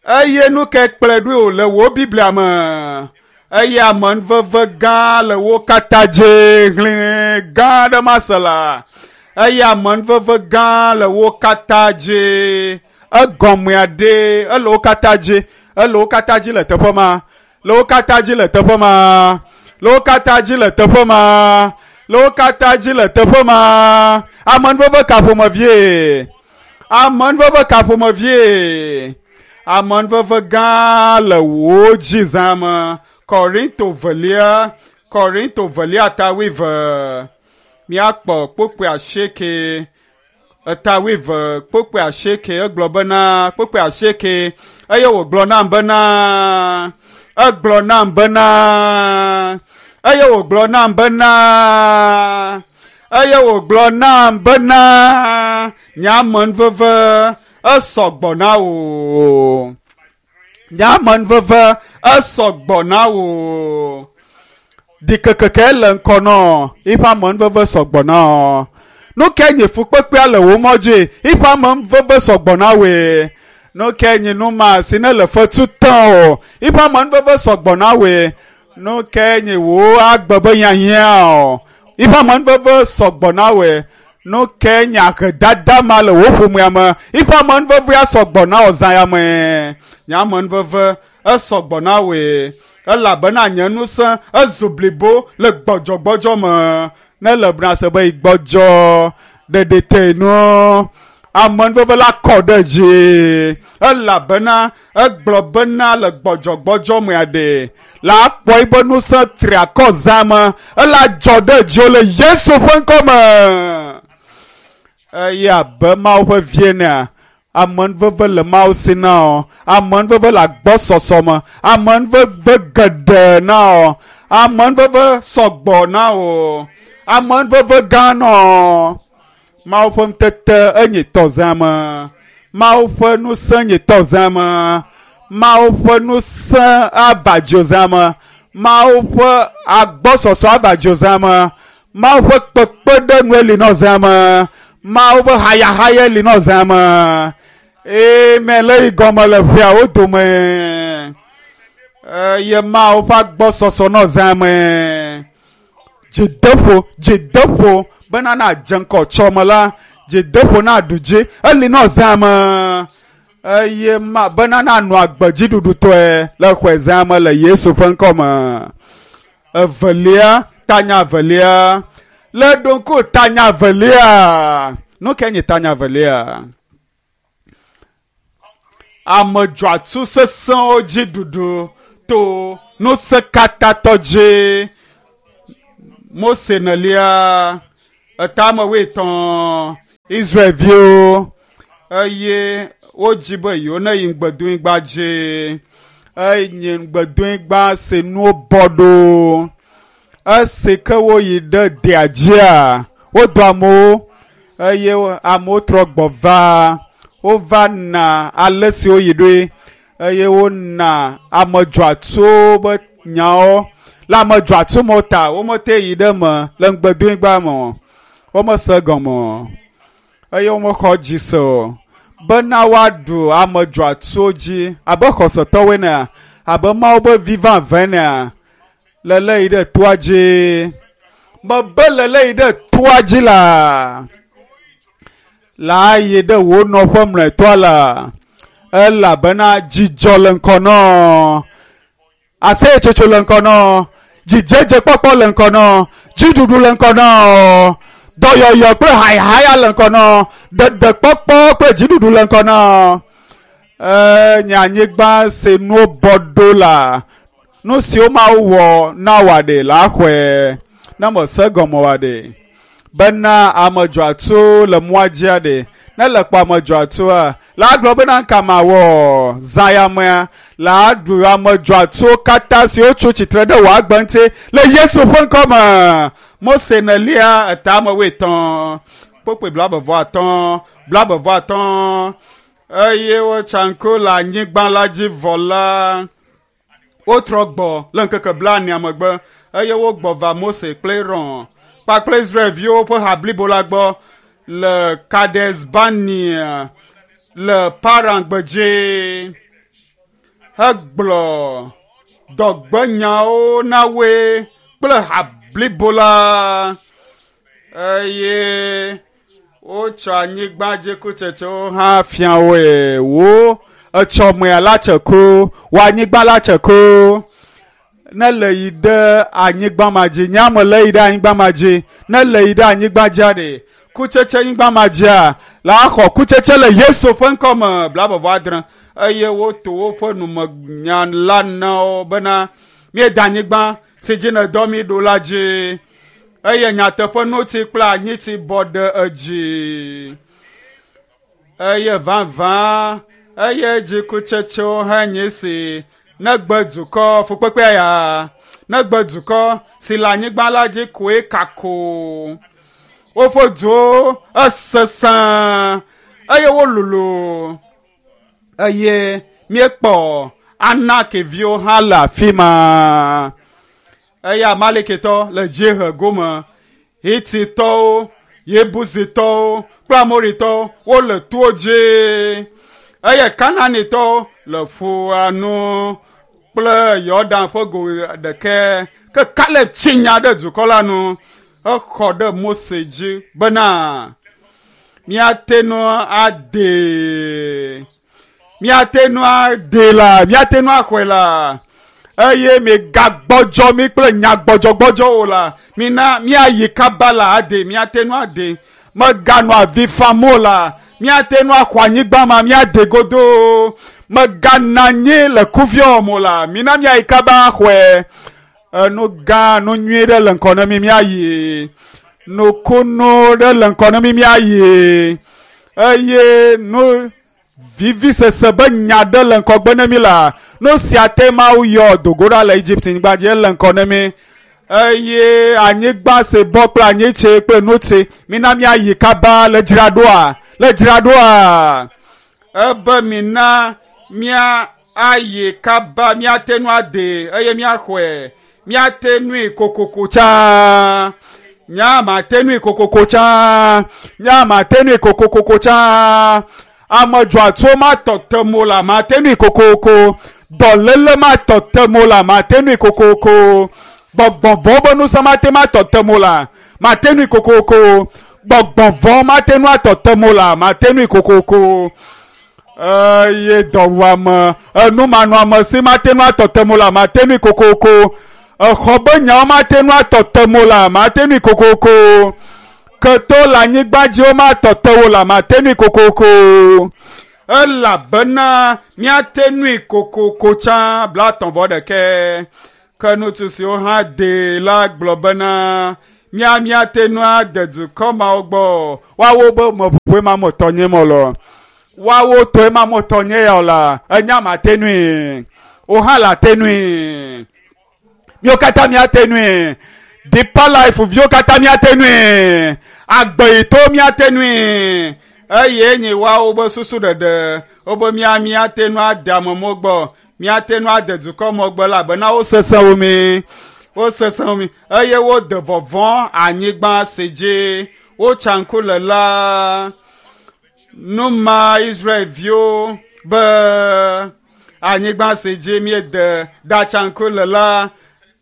S1: Eye nu ke kplɔe ɖo le wò Biblia me. Eye amenuveve gã le wo katã dzi hlẽ gã aɖe mase la. Eye amenuveve gã le wo katã dzi. Egɔmea ɖe ele wo katã dzi. Ele wo katã dzi le teƒe ma. Le wo katã dzi le teƒe ma. Le wo katã dzi le teƒe ma. Le wo katã dzi le teƒe ma. Amenuveve ka ƒomevie? Amenuveve ka ƒomevie? Amenuveve gã le wò dzi zã me. Korinto velia, Korinto velia ta wuieve. Míakpɔ kpukpui asieke. Eta wuieve kpukpui asieke egblɔ bena kpukpui asieke eye wògblɔ nam bena egblɔ nam bena eye wògblɔ nam bena eye wògblɔ nam bena nye amenuveve esɔ gbɔ na wò. Nye amenuveve esɔ gbɔ na wò. Ɖikekeke le ŋkɔ nɔ eƒe amenuveve sɔ gbɔ na wò. Nu ke nye fukpekpea le wò mɔ dzi eƒe amenuveve sɔ gbɔ na wòe. Nu ke nye nu ma si ne le fetu tẽ o eƒe amenuveve sɔ gbɔ na wòe. Nu ke nye wò agbe be hiahiã o Iƒe amenuveve sɔgbɔ na wòe. Nu ke nye ahedada ma le wò ƒomea me. Iƒe amenuvevea sɔgbɔ na wò zã ya me. Nye amenuveve esɔgbɔ na wòe. Elabena nye ŋusẽ ezu blibo le gbɔdzɔgbɔdzɔ me. Ne le bena se be yi gbɔdzɔ ɖeɖi te nu. Amenuveve la kɔ ɖe dzi. Elabena egblɔ bena le gbɔdzɔgbɔdzɔ mea ɖe la akpɔ ebe ŋusẽ tri akɔ zã me. Ela dzɔ ɖe dziwò le Yesu ƒe ŋkɔ me. Eye abe Mawu ƒe vie nea, amenuveve le Mawu si na wò. Amenuveve le agbɔsɔsɔ me. Amenuveve geɖe na wò. Amenuveve sɔgbɔ na wò. Amenuveve gã na wò. Mawu ƒe ŋutete enye tɔzã me. Mawu ƒe ŋusẽ nye tɔzã me. Mawu ƒe ŋusẽ ava dziwò me. Mawu ƒe agbɔsɔsɔ ava dziwò me. Mawu ƒe kpekpeɖeŋue li nɔ zã me. Mawu ƒe hayahaya li nɔ zã me. Amen. Le yi gɔme le ƒeawo dome. Eye Mawu ƒe agbɔsɔsɔ nɔ zã me. Dzideƒo, dzideƒo bena na dze ŋkɔ tsɔme la, dzideƒo na ɖu dzi eli nɔ zã me. Eye ma bena na nɔ agbe dziɖuɖutɔe le xɔe zã me le Yesu ƒe ŋkɔ me. Evelia, tanya evelia. Le ɖo ŋku tanya evelia. Nu ke nye tanya evelia? Ame dzɔatsu sesẽwo dzi ɖuɖu to ŋusẽkatatɔ dzi. Mose nelia etame wuietɔ̃ Israelviwo eye wodzi be yewo ne yi ŋugbedonyigba dzi. Eye ŋugbedonyigba si nuwo bɔ ɖo. Esi ke woyi ɖe dea dzia, wodɔ amewo eye amewo trɔ gbɔ va. Wova na ale si woyi ɖoe eye wona ame dzɔatsuwo be nyawo. Le ame dzɔatsu me ta womete yi ɖe eme le ŋugbedonyigba me o. Womese gɔme o eye womexɔ dzi se o. Bena woaɖu ame dzɔatsuwo dzi abe xɔsetɔwoe nea, abe Mawu ƒe vi vavãe nea, lele yi ɖe toa dzi. Mebe lele yi ɖe toa dzi la, la yi ɖe wò nɔƒe mlɔetɔa la, elabena dzidzɔ le ŋkɔ nɔ. Aseyetsotso le ŋkɔ nɔ. Dzidzedzekpɔkpɔ le ŋkɔ nɔ. Dziɖuɖu le ŋkɔ nɔ. Dɔyɔyɔ kple hayahaya le ŋkɔ nɔ. Ɖeɖekpɔkpɔ kple dziɖuɖu le ŋkɔ nɔ. Enye anyigba si nuwo bɔ ɖo la, nu siwo Mawu wɔ na wòa ɖe la xɔe. Ne mese gɔme wòa ɖe. Bena ame dzɔatsuwo le mɔa dzia ɖe. Ne le kpɔ ame dzɔatsuwoa, la gblɔ bena ŋka mawɔ zã ya mea, la ɖu ame dzɔatsuwo katã siwo tso tsitre ɖe wò agbe ŋuti le Yesu ƒe ŋkɔ me. Mose nelia etame wuietɔ̃, kpukpui blaeve vɔ atɔ̃, blaeve vɔ atɔ̃. Eye wotsa ŋku le anyigba la dzi vɔ la, wotrɔ gbɔ le ŋkeke blaenea megbe eye wogbɔ va Mose kple Aron kpakple Israelviwo ƒe ha blibo la gbɔ le Kades Barnea le Paran gbedzi hegblɔ dɔgbenyawo na woe kple ha blibo la eye wotsɔ anyigba dzi kutsetsewo hã fia woe. Wo etsɔmea la tse ku, wò anyigba la tse ku. Ne le yi ɖe anyigba ma dzi, nye ame le yi ɖe anyigba ma dzi, ne le yi ɖe anyigba dzia ɖe, kutsetse anyigba ma dzia, la xɔ kutsetse le Yesu ƒe ŋkɔ me blaeve vɔ adre. Eye woto woƒe numenya la na wo bena míeda anyigba si dzi nèdɔ mí ɖo la dzi. Eye nyateƒe notsi kple anyitsi bɔ ɖe edzi. Eye vavã eye dzikutsetsewo hã nye si negbe dukɔ fukpekpea ya negbe dukɔ si le anyigba la dzi koe kako. Woƒe duwo esesẽ eye wololo eye míekpɔ Anakiviwo hã le afi ma. Eye Amalekitɔ le dziehe gome, Hititɔwo, Yebusitɔwo kple Amoritɔwo wole towo dzi eye Kanaanitɔwo le ƒua nu kple Yɔdan ƒe go ɖekɛ. Ke Kaleb tsi nya ɖe dukɔ la nu Exɔ ɖe Mose dzi bena míate ŋu adee, míate ŋu adee la, míate ŋu axɔe la. Eye migagbɔdzɔ mi kple nyagbɔdzɔgbɔdzɔwo la, mina míayi kaba la ade, míate ŋu ade. Meganɔ avi fam o la, míate ŋu axɔ anyigba ma, míade godoo. Megana anyi le kuviawo me o la, mina míayi kaba axɔe. Enu gã, nu nyui ɖe le ŋkɔ na mi míayi. Nukunu ɖe le ŋkɔ na mi míayi. Eye nu vivisese be nya ɖe le ŋkɔgbe na mi la, nu sia te Mawu yɔ dogo ɖa le Egypte nyigba dzi ele ŋkɔ na mi. Eye anyigba si bɔ kple anyitsi kple nutsi, mina míayi kaba le dzraɖoa, le dzraɖoa. Ebe mina mía ayi kaba, míate ŋu ade eye míaxɔe. Míate ŋui kokoko tsã. Nya mate ŋui kokoko tsã. Nya mate ŋui kokoko tsã. Ame dzɔatsuwo matɔ te mo la, mate ŋui kokoko. Dɔléle matɔ te mo la, mate ŋui kokoko. Gbɔgbɔvɔ̃ be ŋusẽ mate ŋu atɔ te mo la, mate ŋui kokoko. Gbɔgbɔvɔ̃ mate ŋu atɔ te mo la, mate ŋui kokoko. Eye dɔwuame, enumanɔamesi mate ŋu atɔ te mo la, mate ŋui kokoko. Exɔ be nyawo mate ŋu atɔ te mo la, mate ŋui kokoko. Keto le anyigba dzi womatɔ te wo la, mate ŋui kokoko. Elabena míate ŋui kokoko tsã blaetɔ̃ vɔ ɖekɛ. Ke ŋutsu siwo hã dee la gblɔ bena mía míate ŋu ade dukɔ mawo gbɔ. Woawo be meʋuƒoe ma metɔ nye me lɔ. Woawo tɔe ma metɔ nye ya o la, enya mate ŋui. Wo hã le ate ŋui. Míwo katã míate ŋui. Deeper Life viwo katã míate ŋui. Agbeyitɔwo míate ŋui. Eye nye woawo be susu ɖeɖe, wobe mía míate ŋu ade amewo gbɔ, míate ŋu ade dukɔ me gbɔ elabena wosesẽ wo mi. Wosesẽ wo mi. Eye wode vɔvɔ̃ anyigba si dzi wotsa ŋku le la. Nu ma Israelviwo be anyigba si dzi míede ɖatsa ŋku le la,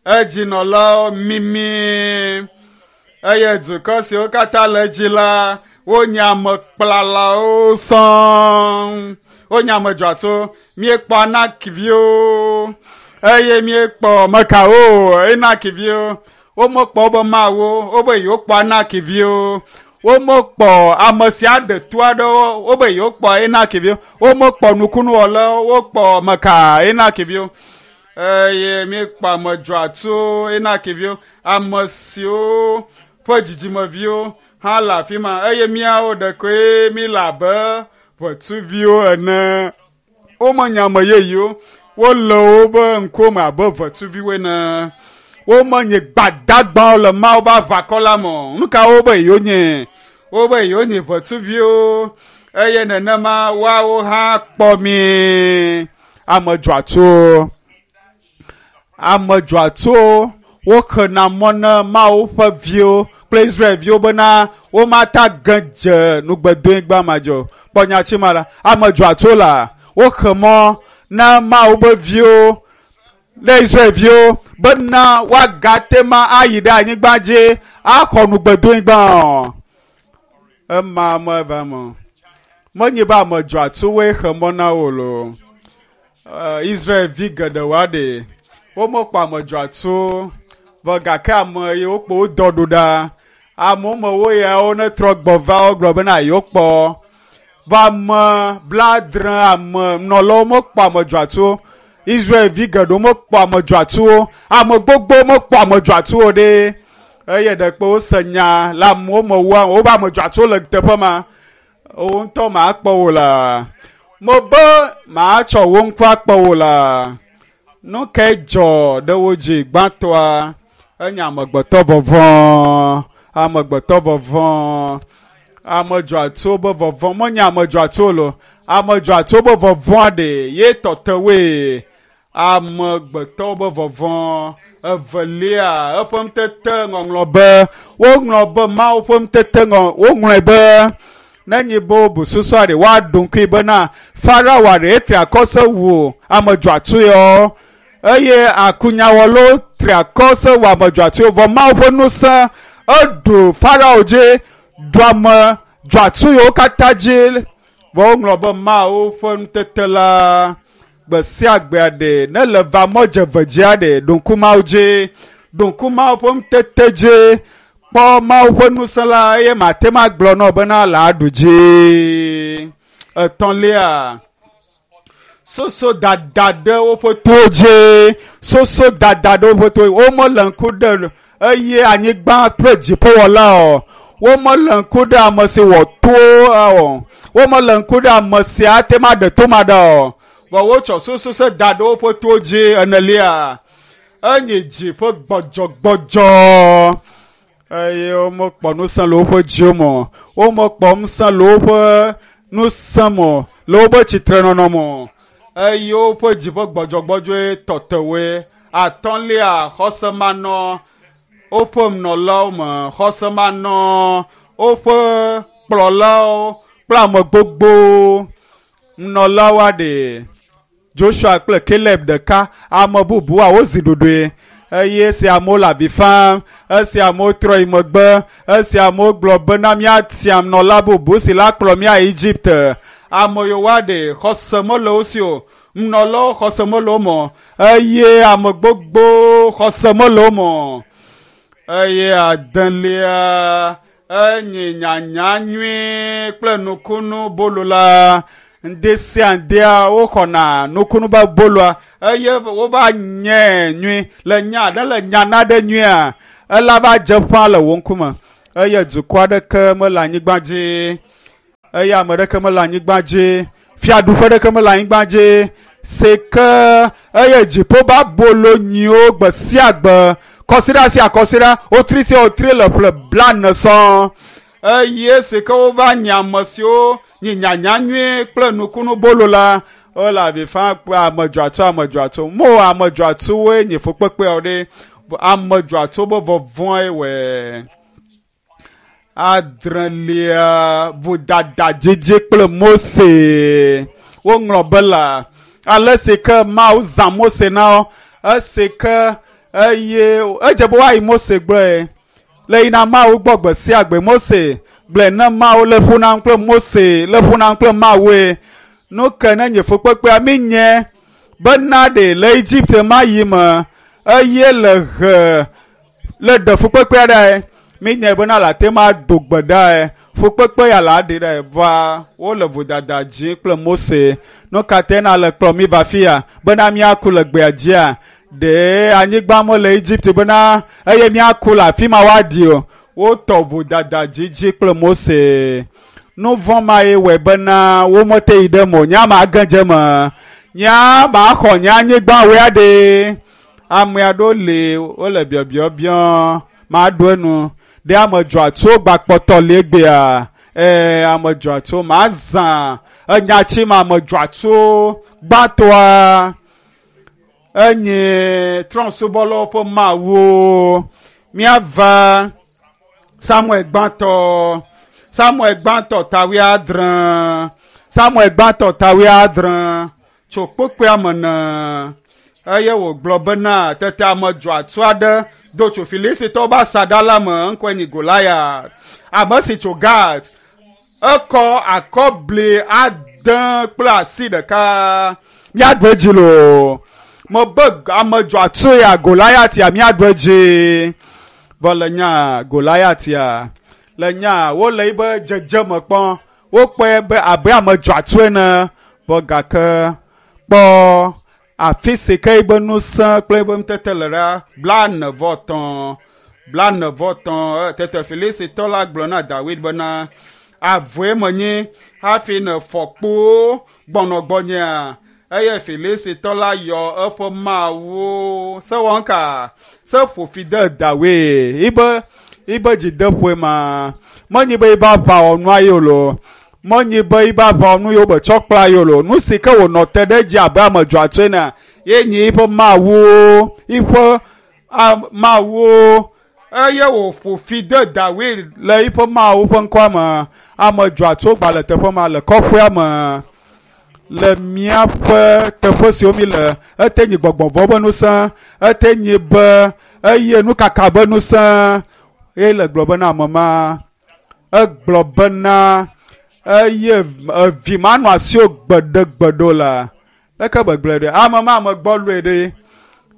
S1: edzinɔlawo mimi. Eye dukɔ siwo katã le edzi la, wonye ame kplalawo sɔŋ. Wonye ame dzɔatsuwo. Míekpɔ Anakviwo eye míekpɔ mekawo, Enakviwo. Womekpɔ wobe mawo, wobe yewokpɔ Anakviwo. Womekpɔ ame sia ɖe to aɖewo, wobe yewokpɔ Enakviwo. Womekpɔ nukunuwɔlawo, wokpɔ meka Enakviwo. Eye míekpɔ ame dzɔatsuwo, Enakviwo, ame siwo ƒe dzidzimeviwo hã le afi ma. Eye míawo ɖekoe míle abe ʋetsuviwo ene. Womenye ame yeyewo. Wole wobe ŋkume abe ʋetsuviwo ene. Womenye gbadagbawo le Mawu ƒe aʋakɔ la me o. Nu ka wobe yewonye? Wobe yewonye ʋetsuviwo. Eye nenema woawo hã kpɔ mi. Ame dzɔatsuwo. Ame dzɔatsuwo woxena mɔ na Mawu ƒe viwo kple Israelviwo bena womata ge dze nugbedoenyigba ma dzi o. Kpɔ nyati ma la, ame dzɔatsuwo la, woxe mɔ na Mawu ƒe viwo ɖe Israelviwo bena woagate ma ayi ɖe anyigba dzi axɔ nugbedoenyigba o. Ema meva me o. Menye be ame dzɔatsuwoe xe mɔ na wo loo. Israelvi geɖewo aɖe womekpɔ ame dzɔatsuwo vɔ gake ame yiwo kpɔ wo dɔ ɖo ɖa. Amewo me wo yawo netrɔ gbɔ va wogblɔ bena yewokpɔ. Vɔ ame blaadre ame nɔlawo mekpɔ ame dzɔatsuwo. Israelvi geɖewo mekpɔ ame dzɔatsuwo. Ame gbogbo mekpɔ ame dzɔatsuwo ɖe. Eye ɖekpe wose nya le amewo me woa wobe ame dzɔatsuwo le teƒe ma. Wo ŋutɔ makpɔ wo la. Mebe matsɔ wo ŋku akpɔ wo la. Nu kae dzɔ ɖe wo dzi gbãtɔa? Enye amegbetɔ vɔvɔ̃. Amegbetɔ vɔvɔ̃. Ame dzɔatsuwo be vɔvɔ̃. Menye ame dzɔatsuwo lo. Ame dzɔatsuwo be vɔvɔ̃a ɖe ye tɔte woe. Amegbetɔwo be vɔvɔ̃. Evelia, eƒe ŋutete ŋɔŋlɔ be woŋlɔ be Mawu ƒe ŋutete ŋɔ woŋlɔe be nenye be wobu susua ɖe woaɖo ŋkui bena Farao ɖe etri akɔ se wu ame dzɔatsuwo eye akunyawɔlawo tri akɔ se wu ame dzɔatsuwo vɔ Mawu ƒe ŋusẽ Eɖu Farao dzi, ɖu ame dzɔatsu yiwo katã dzi. Vɔ woŋlɔ be Mawu ƒe nutete la gbe sia gbea ɖe ne le va mɔ dze dzia ɖe ɖo ŋku Mawu dzi, ɖo ŋku Mawu ƒe nutete dzi, kpɔ Mawu ƒe ŋusẽ la eye mate ŋu agblɔ nɔ bena le aɖu dzi. Etɔ̃lia, soso dada ɖe woƒe towo dzi, soso dada ɖe woƒe towo dzi. Womele ŋku ɖe eye anyigba kple dziƒowɔla o. Womele ŋku ɖe ame si wɔ towo o. Womele ŋku ɖe ame si ate ŋu aɖe to ma ɖa o. Vɔ wotsɔ susu se da ɖe woƒe towo dzi. Enelia, enyi dzi ƒe gbɔdzɔgbɔdzɔ eye womekpɔ ŋusẽ le woƒe dziwo me o. Womekpɔ ŋusẽ le woƒe ŋusẽ me o, le woƒe tsitrenɔnɔ me o. Eye woƒe dzi ƒe gbɔdzɔgbɔdzɔe tɔtewoe. Atɔ̃lia, xɔse manɔ woƒe nɔlawo me, xɔse manɔ woƒe kplɔlawo kple ame gbogbo nɔlawo aɖe. Joshua kple Caleb ɖeka, ame bubuwoa wozi ɖoɖoe eye esi amewo le avi fam, esi amewo trɔ yi megbe, esi amewo gblɔ bena míatia nɔla bubu si la kplɔ mí ayi Egipte. Ame yiwo aɖe xɔse mele wo si o, nɔlawo xɔse mele wo me o eye ame gbogbo xɔse mele wo me o. Eye adelia, enyi nyanya nyui kple nukunu bolo la. Ŋdi sia ŋdia woxɔna nukunu be boloa eye wova nye nyui le nya aɖe le nya na ɖe nyuia ela va dze ƒã le wò ŋkume eye dukɔ aɖeke mele anyigba dzi eye ame ɖeke mele anyigba dzi fiaɖuƒe ɖeke mele anyigba dzi si ke eye dziƒo ba bolo nyiwo gbe sia gbe kɔsiɖa sia kɔsiɖa wotri sia wotri le ƒle blaene sɔŋ eye si ke wova nye ame siwo nye nyanya nyui kple nukunu bolo la wole avi fam kple ame dzɔatsu ame dzɔatsu mo ame dzɔatsuwoe nye fukpekpeawo ɖe ame dzɔatsuwo be vɔvɔ̃e wɔe. Adrelia, vodada dzidzi kple Mose. Woŋlɔ be la ale si ke Mawu zã Mose na wo esi ke eye edze be woayi Mose gblɔe le yina Mawu gbɔ gbe sia gbe. Mose gblɔe ne Mawu le ƒo nam kple Mose le ƒo nam kple Mawue. Nu ke ne nye fukpekpea mi nye bena ɖe le Egipte mayi me eye le he le ɖe fukpekpea ɖae mi nye bena le ate ma do gbe ɖae fukpekpe ya la ɖe ɖae va wole vodada dzi kple Mose. Nu ka te na le kplɔ mi va fia bena míaku le gbea dzia ɖe anyigba mele Egipte bena eye míaku le afi ma woaɖi o. Wotɔ vodada dzidzi kple Mose. Nu vɔ̃ ma ye wɔe bena womete yi ɖe me o. Nye ma ge dze me. Nye ma xɔ nye anyigba woe aɖe. Ame aɖewo li wole biɔbiɔbiɔ maɖo enu ɖe ame dzɔatsuwo gbakpɔtɔ li egbea. Ee, ame dzɔatsuwo mazã enyatsi ma ame dzɔatsuwo gbãtɔa enye trɔ̃subɔlawo ƒe Mawu. Míava Samuel gbãtɔ, Samuel gbãtɔ ta wuiadre, Samuel gbãtɔ ta wuiadre tso kpukpuia me ne eye wògblɔ bena tete ame dzɔatsu aɖe do tso Filistitɔwo ƒe asaɖa la me ŋkɔe nye Goliat, ame si tso Gat. Ekɔ akɔbli ade kple asi ɖeka. Míaɖu edzi loo. Mebe ame dzɔatsu ya Goliat ya míaɖu edzi. Vɔ le nya Goliat ya le nya wole yibe dzedzeme kpɔm. Wokpɔe be abe ame dzɔatsu ene. Vɔ gake kpɔ afi si ke yibe ŋusẽ kple yibe ŋutete le ɖa blaene vɔ etɔ̃ blaene vɔ etɔ̃. Tete Filistitɔ la gblɔ na Dawid bena avɔe menye hafi ne fɔ kpowo gbɔnɔ gbɔnyea. Eye Filistitɔ la yɔ eƒe mawu sewɔnka se ƒo fi de Dawid yibe yibe dzideƒoe ma menyi be yibe aʋawɔnua ye o loo menyi be yibe aʋawɔnu yewo be tsɔ kpla ye o loo nu si ke wònɔ te ɖe edzi abe ame dzɔatsu ene ye nyi yiƒe mawuwo yiƒe mawuwo eye wòƒo fi de Dawid le yiƒe mawu ƒe ŋkɔa me. Ame dzɔatsuwo gba le teƒe ma le kɔƒea me le míaƒe teƒe siwo mi le ete nyi gbɔgbɔvɔ be ŋusẽ ete nyi be eye nukaka be ŋusẽ Eye le gblɔ bena ame ma egblɔ bena eye evi manɔ asiwò gbeɖegbeɖe o la. Leke gbegblẽ ɖe ame ma ame gbɔ lɔe ɖe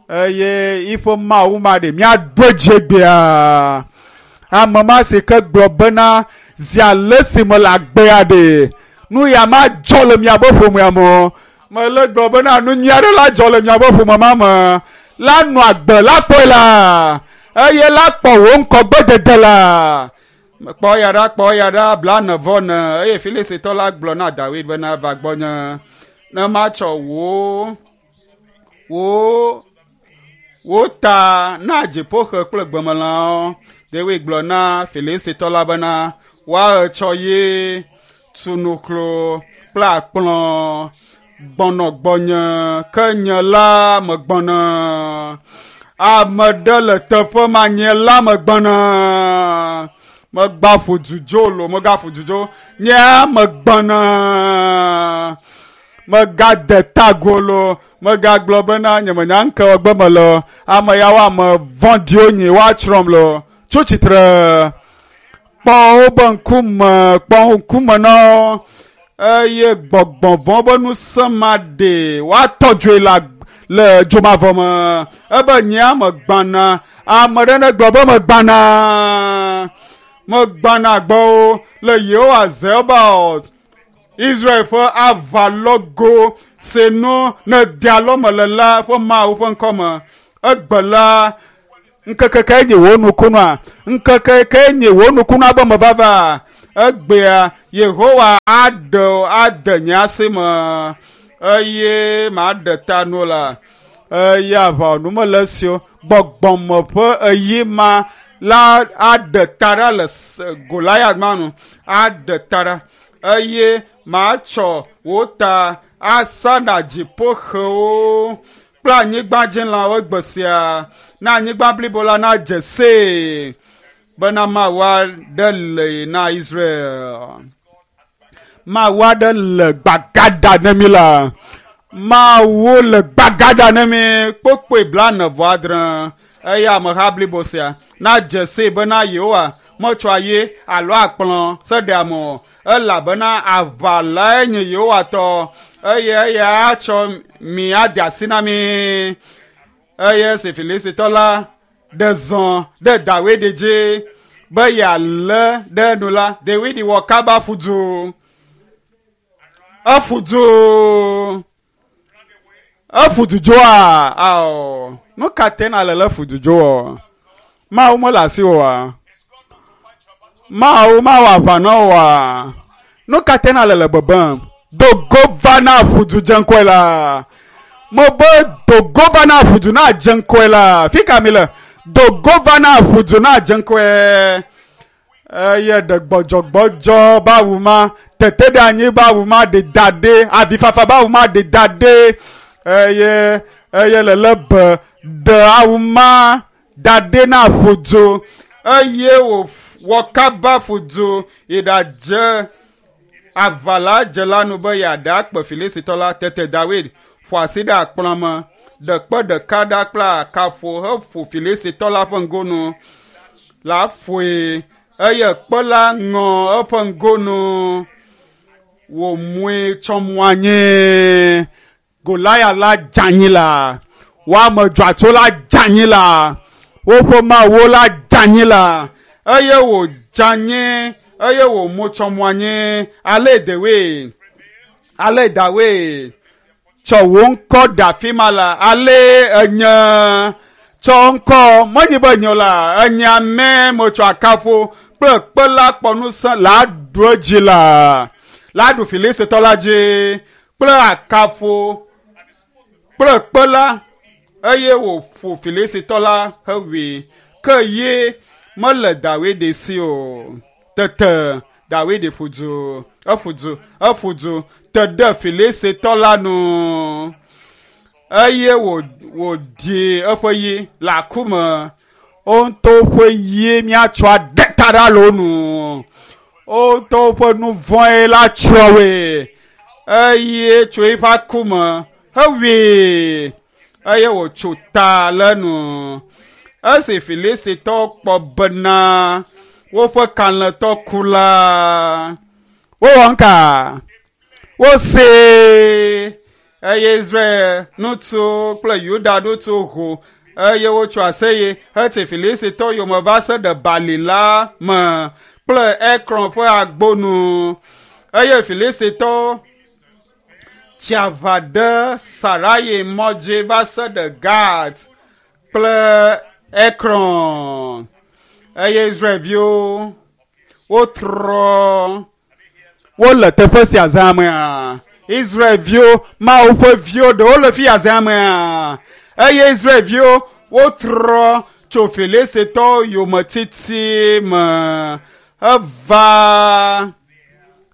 S1: eye yiƒe mawu ma ɖe míaɖo edzi egbea. Ame ma si ke gblɔ bena zi ale si me le agbea ɖe nu ya ma dzɔ le miaƒe ƒomea me o. Mele gblɔ bena nu nyui aɖe la dzɔ le miaƒe ƒome ma me. La nɔ agbe la kpɔe la eye la kpɔ wò ŋkɔgbedede la. Kpɔ ya ɖa kpɔ ya ɖa blaene vɔ ne eye Filistitɔ la gblɔ na Dawid bena va gbɔnye ne matsɔ wò wò wò ta na dziƒoxe kple gbemelãwo. Dawid gblɔ na Filistitɔ la bena woatsɔ ye tunuklo kple akplɔ gbɔnɔ gbɔnye ke nye la megbɔna. Ame ɖe le teƒe ma nye la megbɔna. Megba ƒo dudzo lo megaƒo dudzo nye megbɔna. Megade tago lo megagblɔ bena nye menya ŋke wɔgbe me le ame yawo ame vɔ̃ɖiwo nyi woatsrɔ̃m lo. Tso tsitre kpɔ wobe ŋkume kpɔ ŋkume na wo eye gbɔgbɔ vɔ̃ be ŋusẽ ma ɖe woatɔ dzoe le le dzomavɔ me ebe nye megbana ame ɖe ne gblɔ be megbana megbana gbɔwo le Yehowa Zebaot Israel ƒe aʋalɔgo si nu ne de alɔme le la ƒe Mawu ƒe ŋkɔme. Egbe la ŋkeke kae nye wò nukunua? Ŋkeke kae nye wò nukunua be mevava? Egbea Yehowa aɖe ade nye asi me eye maɖe ta nu la. Eye aʋawɔnu mele esi o. Gbɔgbɔme ƒe eyi ma la aɖe ta ɖa le Goliat ma nu. Aɖe ta ɖa eye matsɔ wò ta asa na dziƒoxewo kple anyigbadzilãwo egbe sia na anyigba blibo la nadze see bena Mawu aɖe le na Israel. Mawu aɖe le gbagada ne mi la. Mawu le gbagada ne mi kpokpoe blaene vɔ adre eye ameha blibo sia nadze see bena Yehowa metsɔa ye alo akplɔ se ɖe ame o elabena aʋa lae nye Yehowa tɔ eye eya atsɔ mi ade asi na mi. Eye esi Filistitɔ la ɖe zɔ ɖe Dawid dzi be yealé ɖe nu la, Dawid wɔ kaba ƒu du. Eƒu du. Eƒu du dzoa? Ao. Nu ka te na le le ƒu du dzo? Mawu mele asi oa? Mawu mawɔ aʋa na woa? Nu ka te na le le bebem? Dogo va na ƒu du dze ŋkɔe la. Mebe dogo va na ƒu du na dze ŋkɔe la. Fi ka mi le? Dogo va na ƒu du na dze ŋkɔe. Eye ɖe gbɔdzɔgbɔdzɔ ba wu ma, tete ɖe anyi ba wu ma, ɖe da ɖe, avifafa ba wu ma, ɖe da ɖe. Eye eye le le be ɖe awu ma da ɖe na ƒu du. Eye wò wɔ kaba ƒu du yi ɖadze aʋala dze la nu be yeaɖe akpe Filistitɔ la. Tete Dawid ƒo asi ɖe akplɔ me, ɖe kpe ɖeka ɖa kple akaƒo heƒo Filistitɔ la ƒe ŋgonu la ƒoe eye kpe la ŋɔ eƒe ŋgonu wòmue tsɔ mu anyi. Goliat la dze anyi la, woame dzɔatso la dze anyi la, woƒe mawuwo la dze anyi la eye wòdze anyi eye wòmu tsɔ mu anyi. Ale Dawid, ale Dawid tsɔ wò ŋkɔ ɖe afi ma la, ale enye tsɔ ŋkɔ menyi be enye o la, enye ame metsɔ akaƒo kple kpe la kpɔ ŋusẽ la ɖu edzi la, la ɖu Filistitɔ la dzi kple akaƒo kple kpe la eye wòƒo Filistitɔ la hewui. Ke ye mele Dawid si o. Tete Dawid ƒu du, eƒu du, eƒu du te ɖe Filistitɔ la nu eye wòdi eƒe yi le aku me. Wo ŋutɔ ƒe yi míatsɔ aɖe ta ɖa le wo nu. Wo ŋutɔ ƒe nu vɔ̃e la tsrɔ̃ woe eye tso eƒe aku me hewui eye wòtso ta le nu Esi Filistitɔwo kpɔ bena woƒe kalẽtɔ ku la, wowɔ ŋka? Wosee eye Israel ŋutsuwo kple Yuda ŋutsuwo ho eye wotso aseye heti Filistitɔwo yome va se ɖe bali la me kple Ekron ƒe agbo nu eye Filistitɔwo tsi aʋa ɖe Sarayi mɔ dzi va se ɖe Gat kple Ekron eye Israelviwo wotrɔ wole teƒe sia zã mea Israelviwo Mawu ƒe viwo ɖewo le fi ya zã mea eye Israelviwo wotrɔ tso Filistitɔwo yometiti me eva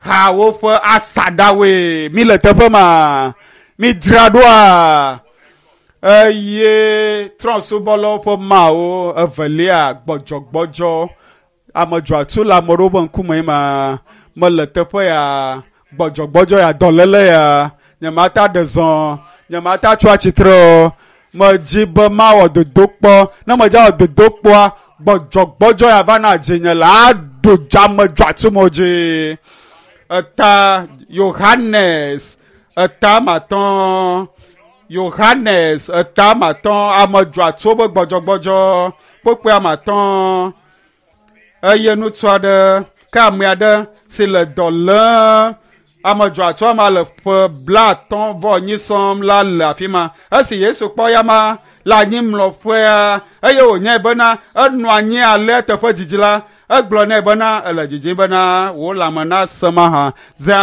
S1: ha woƒe asaɖawoe mi le teƒe ma mi dzra ɖoa eye trɔ̃subɔlawo ƒe mawo evelia gbɔdzɔgbɔdzɔ ame dzɔatsu le ame ɖewo ƒe ŋkume ma mele teƒe ya gbɔdzɔgbɔdzɔ ya dɔléle ya nyemata ɖe zɔ nyemata tso atsitre o medzi be mawɔ dodokpɔ ne medze awɔ dodokpɔa gbɔdzɔgbɔdzɔ ya va na dzinye le aɖu ame dzɔatsu mo dzi eta Yohanes eta matɔ Yohanes eta matɔ ame dzɔatsuwo be gbɔdzɔgbɔdzɔ kpokpoe amatɔ eye ŋutsu aɖe ke ame aɖe si le dɔ lém ame dzɔatsu ma le ƒe blaatɔ̃ vɔ enyi sɔm la le afi ma esi Yesu kpɔ ya ma le anyimlɔƒea eye wònyae bena enɔ anyi alea teƒe dzidzi la egblɔ nɛ bena ele dzidzim bena wò lãme nasẽ mahã. Zã